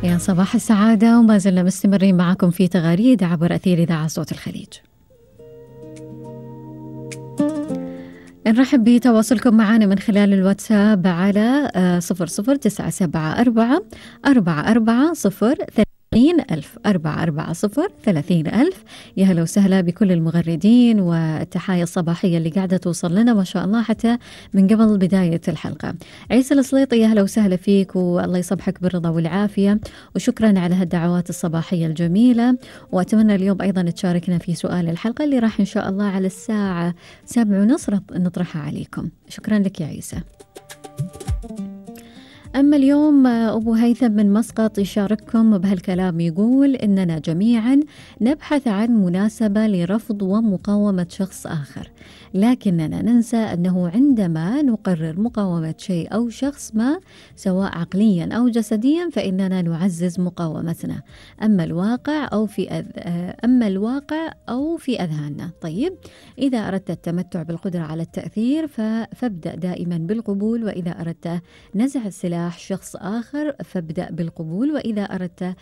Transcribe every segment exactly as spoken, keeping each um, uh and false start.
يا صباح السعادة، وما زلنا مستمرين معكم في تغاريد عبر أثير إذاعة صوت الخليج. نرحب بتواصلكم معنا من خلال الواتساب على صفر صفر تسعة سبعة أربعة أربعة أربعة صفر ثلاثين ألف أربعة أربعة صفر ثلاثين ألف. يا هلا وسهلا بكل المغردين، والتحايا الصباحية اللي قاعدة توصل لنا ما شاء الله حتى من قبل بداية الحلقة. عيسى السليطي، يا هلا وسهلا فيك، والله يصبحك بالرضا والعافية، وشكرا على هالدعوات الصباحية الجميلة. وأتمنى اليوم أيضا تشاركنا في سؤال الحلقة اللي راح إن شاء الله على الساعة سبع ونص نطرحها عليكم. شكرا لك يا عيسى. أما اليوم أبو هيثم من مسقط يشارككم بهالكلام، يقول إننا جميعا نبحث عن مناسبة لرفض ومقاومة شخص آخر، لكننا ننسى أنه عندما نقرر مقاومة شيء أو شخص ما سواء عقليا أو جسديا فإننا نعزز مقاومتنا، أما الواقع أو في أذ... أما الواقع أو في أذهاننا. طيب، إذا أردت التمتع بالقدرة على التأثير ف... فابدأ دائما بالقبول، وإذا أردت نزع السلاح شخص آخر فابدأ بالقبول، وإذا أردت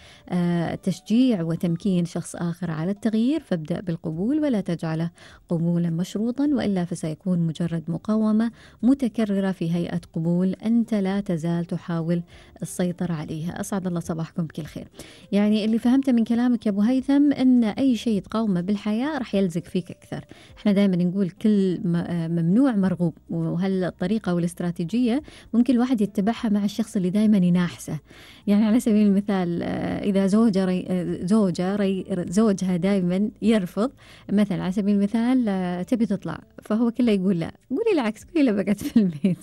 تشجيع وتمكين شخص آخر على التغيير فابدأ بالقبول، ولا تجعله قبولا مشروطا، وإلا فسيكون مجرد مقاومة متكررة في هيئة قبول أنت لا تزال تحاول السيطرة عليها. أسعد الله صباحكم بكل خير. يعني اللي فهمته من كلامك يا أبو هيثم أن أي شيء تقاومه بالحياة رح يلزق فيك أكثر. احنا دائما نقول كل ممنوع مرغوب، وهالطريقة والاستراتيجية ممكن الواحد يتبعها مع الشخص اللي دائما يناحسه. يعني على سبيل المثال إذا زوجة ري زوجة ري زوجها دائما يرفض، مثلا على سبيل المثال تبي تطلع فهو كله يقول لا، قولي العكس، قولي له بقعد في البيت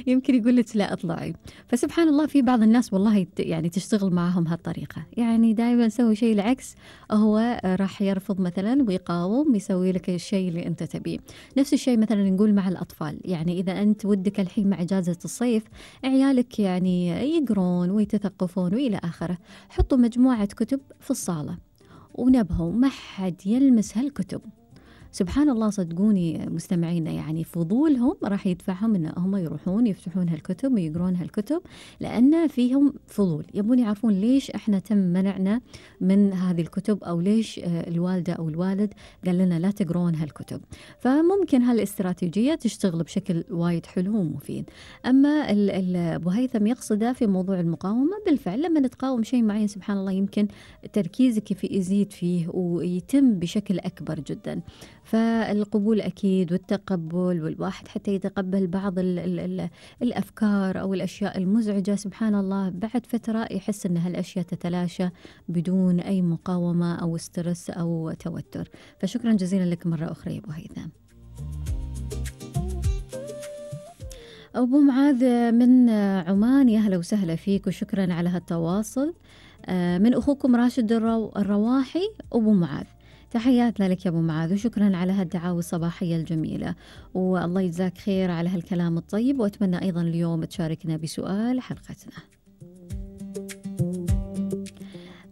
يمكن يقول لك لا اطلعي. فسبحان الله في بعض الناس والله يعني تشتغل معهم هالطريقة، يعني دائما سوي شيء العكس، هو راح يرفض مثلا ويقاوم، يسوي لك الشيء اللي انت تبيه. نفس الشيء مثلا نقول مع الأطفال، يعني إذا أنت ودك الحين مع إجازة الصيف عيالك يعني يقرون ويتثقفون وإلى آخره، حطوا مجموعة كتب في الصالة ونبهوا ما حد يلمس هالكتب. سبحان الله، صدقوني مستمعينا، يعني فضولهم راح يدفعهم ان هم يروحون يفتحون هالكتب ويقرون هالكتب، لان فيهم فضول، يبون يعرفون ليش احنا تم منعنا من هذه الكتب، او ليش الوالده او الوالد قال لنا لا تقرون هالكتب. فممكن هالاستراتيجيه تشتغل بشكل وايد حلو ومفيد. اما ابو هيثم يقصده في موضوع المقاومه، بالفعل لما تقاوم شيء معين سبحان الله يمكن تركيزك في يزيد فيه ويتم بشكل اكبر جدا. فالقبول أكيد والتقبل، والواحد حتى يتقبل بعض ال ال ال الأفكار أو الأشياء المزعجة، سبحان الله بعد فترة يحس أن هالأشياء تتلاشى بدون أي مقاومة أو سترس أو توتر. فشكرا جزيلا لك مرة أخرى يا أبو هيثم. أبو معاذ من عمان، يا هلا وسهلا فيك، وشكرا على هالتواصل. من أخوكم راشد الرو الرواحي أبو معاذ، تحياتنا لك يا أبو معاذ، وشكرا على هالدعاوى الصباحية الجميلة، والله يجزاك خير على هالكلام الطيب. وأتمنى أيضا اليوم تشاركنا بسؤال حلقتنا.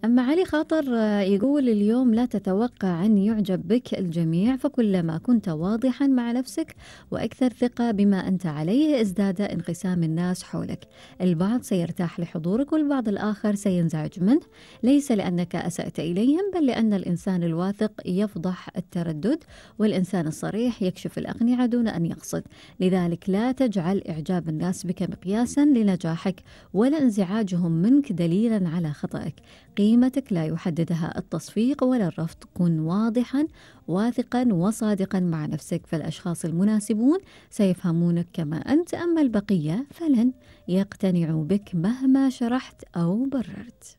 أما علي خاطر يقول اليوم لا تتوقع أن يعجب بك الجميع، فكلما كنت واضحا مع نفسك وأكثر ثقة بما أنت عليه ازداد انقسام الناس حولك. البعض سيرتاح لحضورك والبعض الآخر سينزعج منه، ليس لأنك أسأت إليهم بل لأن الإنسان الواثق يفضح التردد، والإنسان الصريح يكشف الأقنعة دون أن يقصد. لذلك لا تجعل إعجاب الناس بك مقياسا لنجاحك، ولا انزعاجهم منك دليلا على خطأك. قيمتك لا يحددها التصفيق ولا الرفض. كن واضحا واثقا وصادقا مع نفسك، فالأشخاص المناسبون سيفهمونك كما أنت، أما البقية فلن يقتنعوا بك مهما شرحت أو بررت.